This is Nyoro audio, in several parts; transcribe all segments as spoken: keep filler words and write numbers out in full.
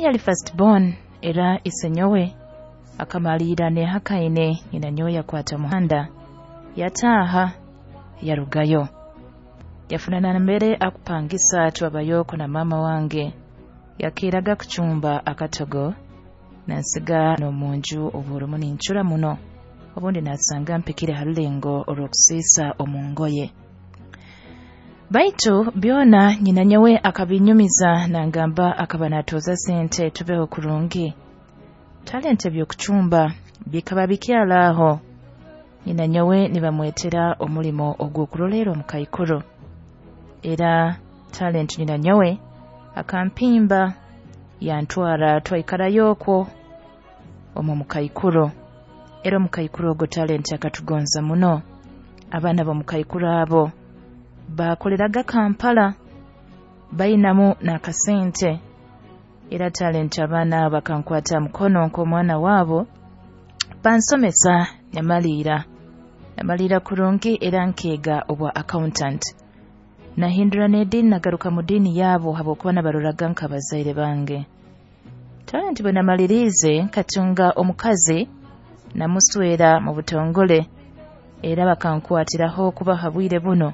Yali first born, era isenyowe akamaliira nehakaine. Nyina nyowe yakwata muhanda yataaha yarugayo, yafuna nambere akupangisa. Twabayoko na maama wange, yakeeraga kucumba akatogo nansiga n'omunju. Oburumu nincura muno, obundi nasanga mpikire ha rulengo orw'okusiisa omu ngoye. Baitu byona nyina nyowe akabinyumiza, nangamba akaba natooza sente tubeho kurungi. Talenti ebyokucumba bikaba bikyali aho. Nyina nyowe nibamwetera omulimo ogw'okurolerra omukaikuru, era talenti nyina nyowe akampimba yantwara, twaikarayo okwo omu mukaikuru. Era omukaikuru ogwo talenti akatugonza muno. Abaana b'omukaikuru abo baakoleraga Kampala, bainamu n'akasente. Era talenti abaana abo bakankwata mukono nk'omwana waabo, bansomesa, nyamaliira namaliira kurungi, era nkeega obwa accountant. Nahindura n'ediini, nagaruka mu diini yaabo habwokuba nabaroraga nk'abazaire bange. Talenti bwe namaliriize, nkatunga omukazi, namuswera mu butongole, era bakankwatiraho kuba ha bwire buno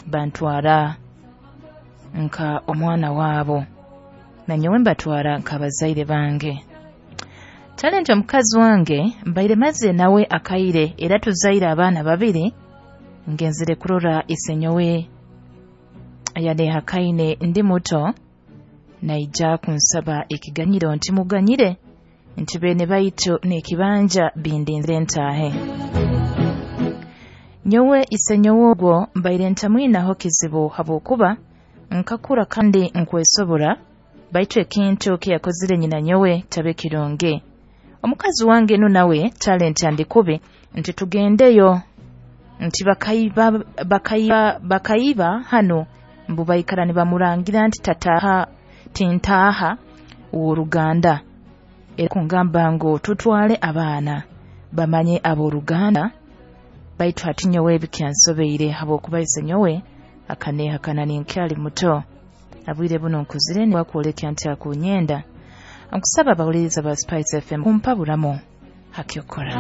bantwara nka omwana waabo, nanyowe mbatwara nk'abazaire bange. Talenti omukazi wange mbaire mazire nawe akaire, era tuzaire abaana babiri. Ngenzire kurora isenyowe yanehakaine ndi muto, naija kunsaba ekiganyiro nti muganyire, nti beene baitu n'ekibanja bindinzire ntaahe. Nyowe isenyowe ogwo mbaire ntamwinaho kizibu habwokuba nkakura kandi nkwesobora, baitu ekintu kiyakozire nyina nyowe tabe kirungi. Omukazi wange nu nawe talenti andi kubi nti tugendeyo, nti bakaiba bakaiba bakaiba hanu, mbu baikara nibamurangira nti tataha tintaaha w'oruganda. Era kungamba ngu tutwale abaana bamanye ab'oruganda, baitu hati nyowe bikyansobeire habwokuba isenyowe akanehakana ninkyali muto. Abwire buno nkuzire, niwakwolekya nti akunyenda. Nkusaba abawuliriza ba Spice F M kumpaburamu hakyokora.